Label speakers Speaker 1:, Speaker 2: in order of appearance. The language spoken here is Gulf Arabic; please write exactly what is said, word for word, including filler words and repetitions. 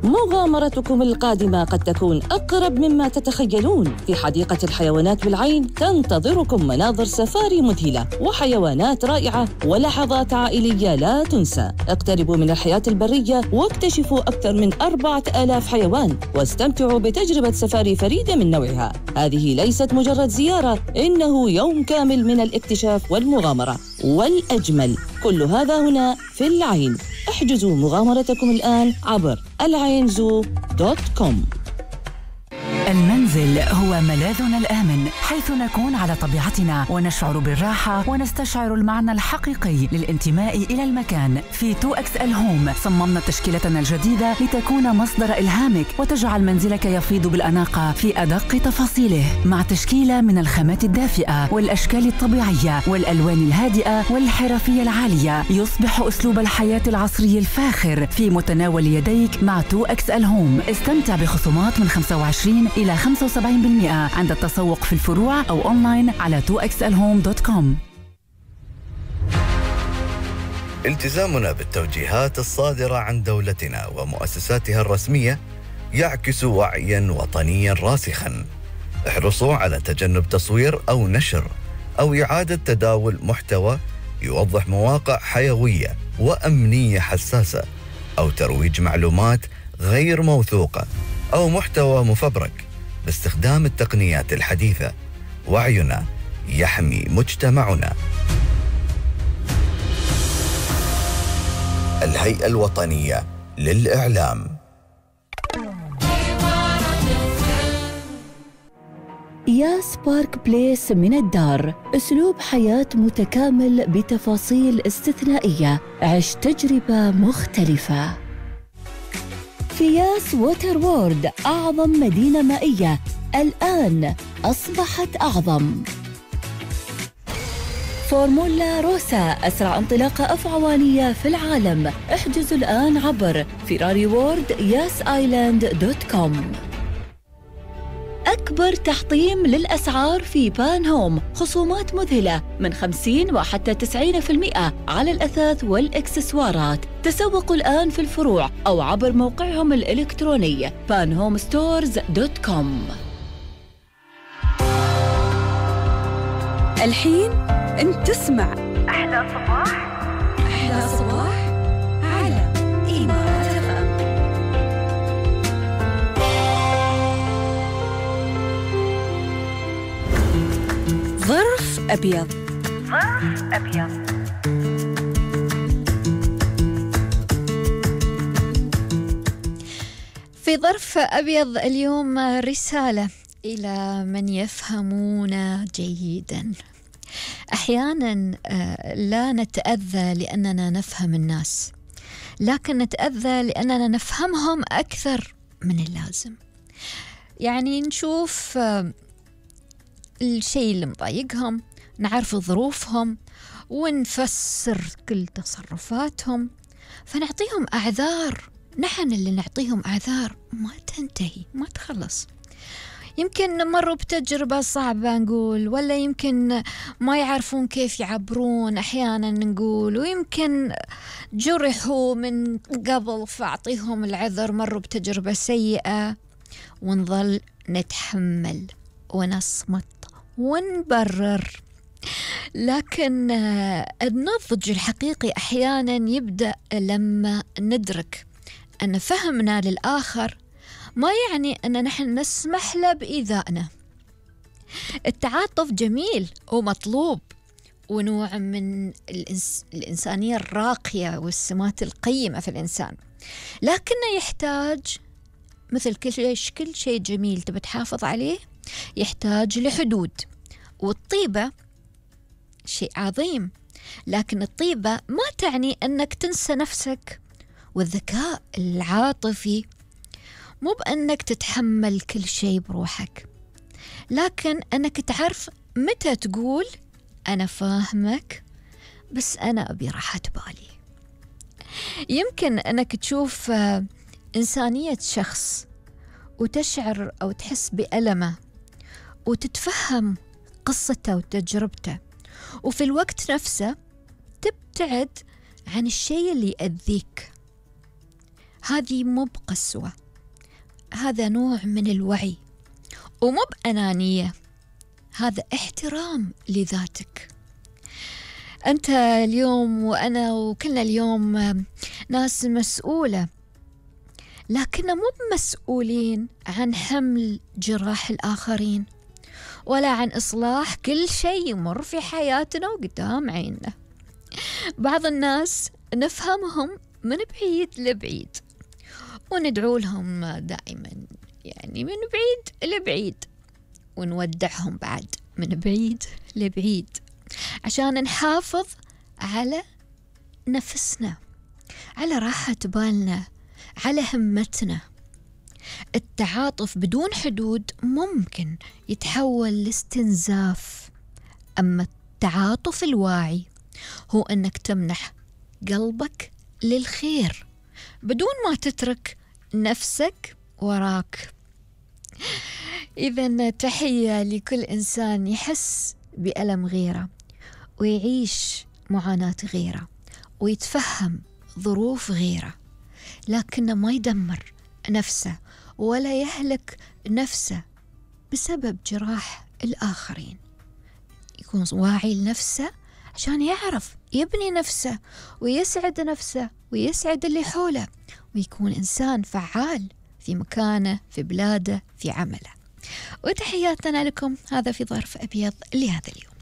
Speaker 1: مغامرتكم القادمة قد تكون أقرب مما تتخيلون. في حديقة الحيوانات بالعين تنتظركم مناظر سفاري مذهلة وحيوانات رائعة ولحظات عائلية لا تنسى. اقتربوا من الحياة البرية واكتشفوا أكثر من أربعة آلاف حيوان واستمتعوا بتجربة سفاري فريدة من نوعها. هذه ليست مجرد زيارة، إنه يوم كامل من الاكتشاف والمغامرة. والأجمل كل هذا هنا في العين. احجزوا مغامرتكم الآن عبر العين زو دوت كوم.
Speaker 2: المنزل هو ملاذنا الآمن، حيث نكون على طبيعتنا ونشعر بالراحة ونستشعر المعنى الحقيقي للانتماء إلى المكان. في تو إكس إل هوم صممنا تشكيلتنا الجديدة لتكون مصدر إلهامك وتجعل منزلك يفيض بالأناقة في أدق تفاصيله، مع تشكيلة من الخامات الدافئة والأشكال الطبيعية والألوان الهادئة والحرفية العالية. يصبح أسلوب الحياة العصري الفاخر في متناول يديك مع تو إكس إل هوم. استمتع بخصومات من خمسة وعشرين إلى خمسة وسبعين بالمئة عند التسوق في الفروع أو أونلاين على تو إكس إل هوم دوت كوم.
Speaker 3: التزامنا بالتوجيهات الصادرة عن دولتنا ومؤسساتها الرسمية يعكس وعيا وطنيا راسخا. احرصوا على تجنب تصوير أو نشر أو إعادة تداول محتوى يوضح مواقع حيوية وأمنية حساسة، أو ترويج معلومات غير موثوقة أو محتوى مفبرك باستخدام التقنيات الحديثة. وعينا يحمي مجتمعنا. الهيئة الوطنية للإعلام.
Speaker 4: يا سبارك بليس من الدار، أسلوب حياة متكامل بتفاصيل استثنائية. عش تجربة مختلفة. في ياس ووتر وورد، أعظم مدينة مائية الآن أصبحت أعظم. فورمولا روسا، أسرع انطلاقة أفعوانية في العالم. احجزوا الآن عبر فيراري وورد ياس آيلاند دوت كوم. أكبر تحطيم للأسعار في بان هوم، خصومات مذهلة من خمسين وحتى تسعين بالمئة على الأثاث والإكسسوارات. تسوقوا الآن في الفروع أو عبر موقعهم الإلكتروني بان هوم ستورز دوت كوم.
Speaker 5: الحين أنت تسمع أحلى صباح. أحلى صباح على إمارات إف إم. ظرف أبيض. ظرف أبيض.
Speaker 6: في ظرف أبيض اليوم رسالة إلى من يفهمون جيدا. أحيانا لا نتأذى لأننا نفهم الناس، لكن نتأذى لأننا نفهمهم أكثر من اللازم. يعني نشوف الشيء اللي مضايقهم، نعرف ظروفهم ونفسر كل تصرفاتهم، فنعطيهم أعذار. نحن اللي نعطيهم أعذار ما تنتهي، ما تخلص. يمكن مروا بتجربة صعبة نقول، ولا يمكن ما يعرفون كيف يعبرون أحيانا نقول، ويمكن جرحوا من قبل فأعطيهم العذر. مروا بتجربة سيئة ونظل نتحمل ونصمت ونبرر. لكن النضج الحقيقي أحيانا يبدأ لما ندرك أن فهمنا للآخر ما يعني أن نحن نسمح له بإيذائنا. التعاطف جميل ومطلوب ونوع من الإنس... الإنسانية الراقية والسمات القيمة في الإنسان، لكنه يحتاج مثل كل شيء كل شيء جميل تبي تحافظ عليه يحتاج لحدود. والطيبة شيء عظيم، لكن الطيبة ما تعني أنك تنسى نفسك. والذكاء العاطفي مو بأنك تتحمل كل شيء بروحك، لكن أنك تعرف متى تقول أنا فاهمك بس أنا أبي راحة بالي. يمكن أنك تشوف إنسانية شخص وتشعر أو تحس بألمه وتتفهم قصته وتجربته، وفي الوقت نفسه تبتعد عن الشيء اللي يأذيك. هذه مو بقسوة، هذا نوع من الوعي، ومو بأنانية، هذا احترام لذاتك. أنت اليوم وأنا وكلنا اليوم ناس مسؤولة، لكن مو مسؤولين عن حمل جراح الآخرين ولا عن إصلاح كل شيء يمر في حياتنا وقدام عيننا. بعض الناس نفهمهم من بعيد لبعيد وندعو لهم دائما، يعني من بعيد لبعيد، ونودعهم بعد من بعيد لبعيد عشان نحافظ على نفسنا، على راحة بالنا، على همتنا. التعاطف بدون حدود ممكن يتحول لاستنزاف، أما التعاطف الواعي هو أنك تمنح قلبك للخير بدون ما تترك نفسك وراك. إذن تحية لكل إنسان يحس بألم غيره ويعيش معاناة غيره ويتفهم ظروف غيره، لكنه ما يدمر نفسه ولا يهلك نفسه بسبب جراح الآخرين. يكون واعي لنفسه عشان يعرف يبني نفسه ويسعد نفسه ويسعد اللي حوله، ويكون إنسان فعال في مكانه، في بلاده، في عمله. وتحياتنا لكم، هذا في ظرف أبيض لهذا اليوم.